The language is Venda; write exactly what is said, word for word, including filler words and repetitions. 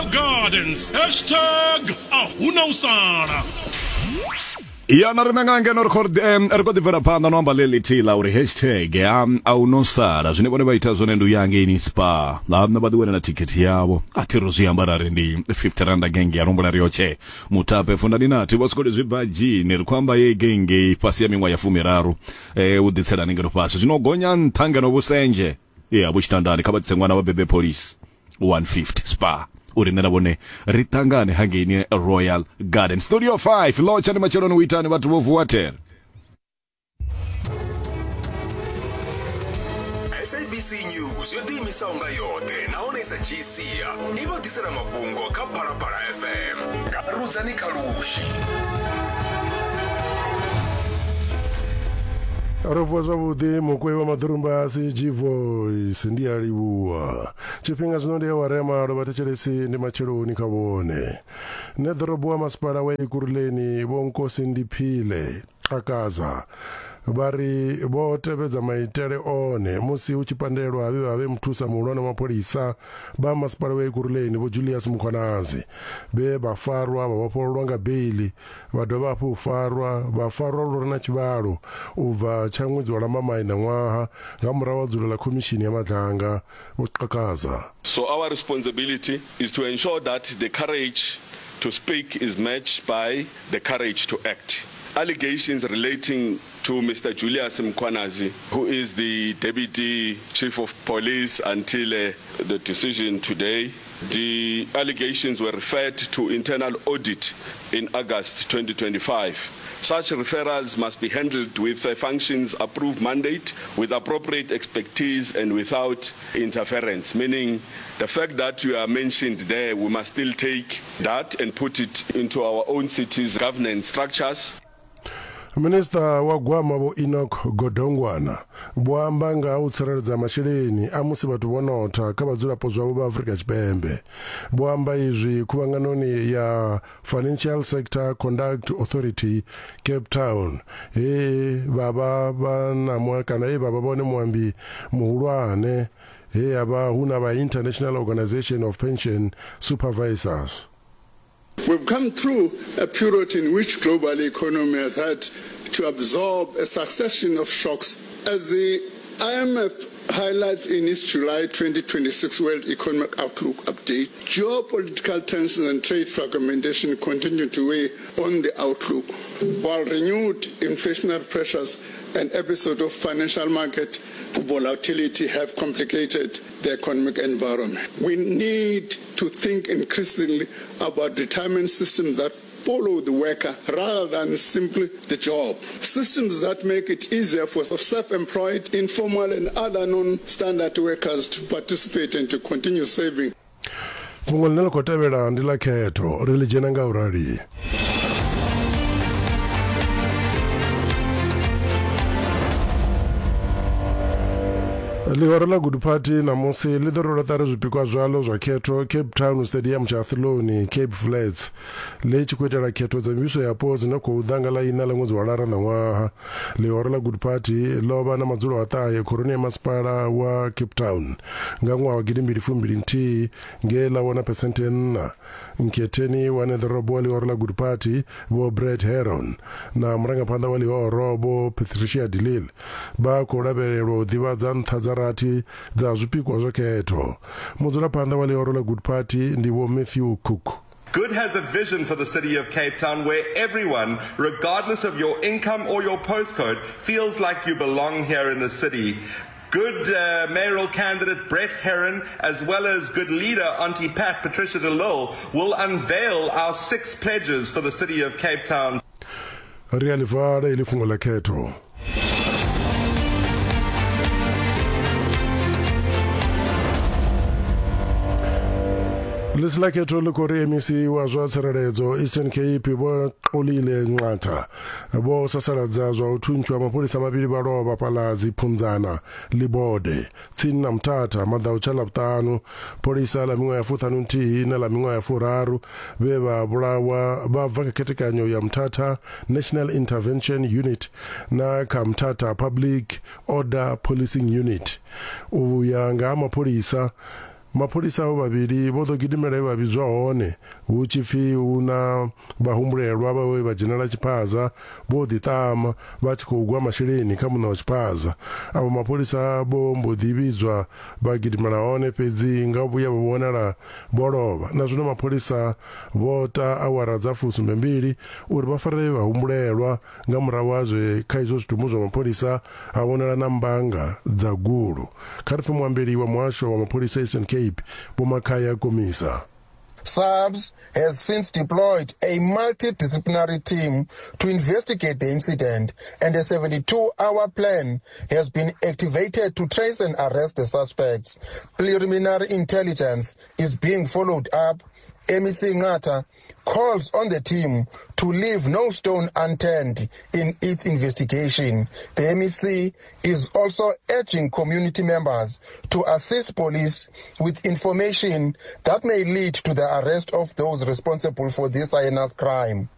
Royal Gardens. Hashtag a huna u sala. Ya na riṋe nga ngeno ri khou ri khou ḓi bvela phanḓa no amba ḽeḽi ḽithihi ḽa uri hashtag ya a u no sala. Zwine vhone vha ita zwone ndi u ya hangeini Spa, ḽa vha ḓi wanela thikhithi yavho. A thi ro zwi amba ra ri ndi fifty randa genge ya rumbula ri yotshe mutape fundani nathi vho swikoli zwi bva dzhini. Ri khou amba ye genge fhasi ya miṅwaha ya fumiraru eh u ḓitselani ngeno fhasi zwino gonya nṱha ngeno vhusenje ya vhutshitandani kha vha tsitse ṅwana wa bebe police one fifty Spa uri nṋe na vhone ri ṱangane hangeini Royal Garden. Studio five lotsha ndi matsheloni u itani vhathu vho vuwa there. S A B C News yo ḓiimisaho nga yoṱhe nahone sa dzhii sia i vha ḓisela mafhungo kha Phalaphala F M nga Rudzani Khalushi. Ro vuwa zwavhuḓi mukwei wa maḓurumbasi G Voice ndi a livhuwa. Tshifhinga zwino ndi awara ya malo vhathetshelesi ndi matsheloni kha vhone. Nṋe ḓorobo wa masipala wa Ekurhuleni Vho Nkosi Ndiphile Xhakaza vha ri vho tevhedza maitele one musi hu tshi pandelwa vhe vha vhe muthusa muhulwane wa mapholisa vha masipala wa Ekurhuleni Vho Julius Mkhwanazi vhe vha farwa vha vhofhololwa nga beili vha dovha hafhu farwa vha farwa lwo na tshivhalo u bva tsha ṅwedzi wa Lambamai ṋaṅwaha nga murahu ha dzulo ḽa khomishini ya Madlanga. Vho Xhakaza. So our responsibility is to ensure that the courage to speak is matched by the courage to act. Allegations relating to Mister Julius Mkhwanazi, who is the deputy chief of police until uh, the decision today, the allegations were referred to internal audit in August twenty twenty-five. Such referrals must be handled with a functions approved mandate, with appropriate expertise and without interference, meaning the fact that you are mentioned there, we must still take that and put it into our own city's governance structures. Minister wa Gwama Vho Enoch Godongwana vho amba nga u tsireledza masheleni a musi vhathu vho notha kha vhadzulapo zwavho vha Afrika Tshipembe. Vho amba izwi khuvhanganoni ya Financial Sector Conduct Authority Cape Town he vha vha vha na kana he vha vha vhone muambi muhulwane he ya vha hu na vha International Organization of Pension Supervisors. We've come through a period in which global economy has had to absorb a succession of shocks. As the I M F highlights in its July twenty twenty-six World Economic Outlook update, geopolitical tensions and trade fragmentation continue to weigh on the outlook, while renewed inflationary pressures and episodes of financial market volatility have complicated the economic environment. We need to think increasingly about retirement systems that follow the worker rather than simply the job. Systems that make it easier for self-employed, informal and other non-standard workers to participate and to continue saving. Fhungo ḽine ḽi khou tevhela ndi ḽa khetho, ri ḽi dzhena nga u rali. Ḽihoro ḽa Good Party ṋamusi ḽi ḓo rwelwa ṱari zwipikwa zwaḽo zwa khetho Cape Town Stadium tsha Athlone, Cape Flats, ḽi tshi khou itela khetho dza mivhuso yapo dzine khou ḓa nga ḽa iṋa ḽa ṅwedzi wa Lara ṋaṅwaha. Ḽihoro ḽa Good Party ḽo vha na madzulo a ṱahe khoroni ya masipala wa Cape Town nga ṅwaha wa gidimbili fumbili nthihi nge ḽa wana phesenthe nṋa. Nkhetheni wa ṋeḓorobo wa ḽihoro ḽa Good Party Vho Brett Heron na murangaphanḓa wa ḽihoro Vho Patricia de Lille vha khou lavhelelwa u ḓivhadza nṱha dza rathi dza zwipikwa zwa khetho. Mudzulaphanḓa wa ḽihoro ḽa Good Party ndi Vho Matthew Cook. Good has a vision for the city of Cape Town where everyone, regardless of your income or your postcode, feels like you belong here in the city. Good uh, mayoral candidate Brett Heron, as well as good leader Auntie Pat Patricia de Lille, will unveil our six pledges for the city of Cape Town. Ri a ḽi vala iḽi fhungo ḽa khetho. Ḽisi ḽa khetho ḽi khou ri M E C wa zwa tsireledzo Eastern Cape Vho Xolile Nqatha vho sasaladza zwa u thuntshwa mapholisa mavhili vha lovha fhaḽa Dziphunzana Libode tsini na Mthatha maḓautsha Ḽavhuṱanu. Pholisa ḽa miṅwaha ya fuṱhanu nthihi na ḽa miṅwaha ya furaru vhe vha vhulawa vha bva kha khethekanyo ya Mthatha National Intervention Unit na kha Mthatha Public Order Policing Unit. U ya nga ha mapholisa, Mapholisa avho vhavhili vho ḓo gidimela he vha vhidzwa hone hu tshi pfi hu na vhahumbulelwa vhawe vha dzhenela tshiphaza vho ḓiṱama vha tshi khou gwa masheleni kha muṋe wa tshiphaza. Avho mapholisa vho mbo ḓi vhidzwa vha gidimela hone, fhedzi nga vhuya vha vhonala vho lovha. Na zwino mapholisa vho ta awara dza fusumbe mbili uri vha fare vhahumbulelwa nga murahu ha zwe kha izwo zwitumbu zwa mapholisa ha vhonala na mbanga dza gulu. Kha ri pfe muambeli wa muhasho wa mapholisa Eastern Cape Vho Makhaya Komisa. S A P S has since deployed a multidisciplinary team to investigate the incident, and a seventy-two-hour plan has been activated to trace and arrest the suspects. Preliminary intelligence is being followed up. M E C Nqatha calls on the team to leave no stone unturned in its investigation. The M E C is also urging community members to assist police with information that may lead to the arrest of those responsible for this heinous crime.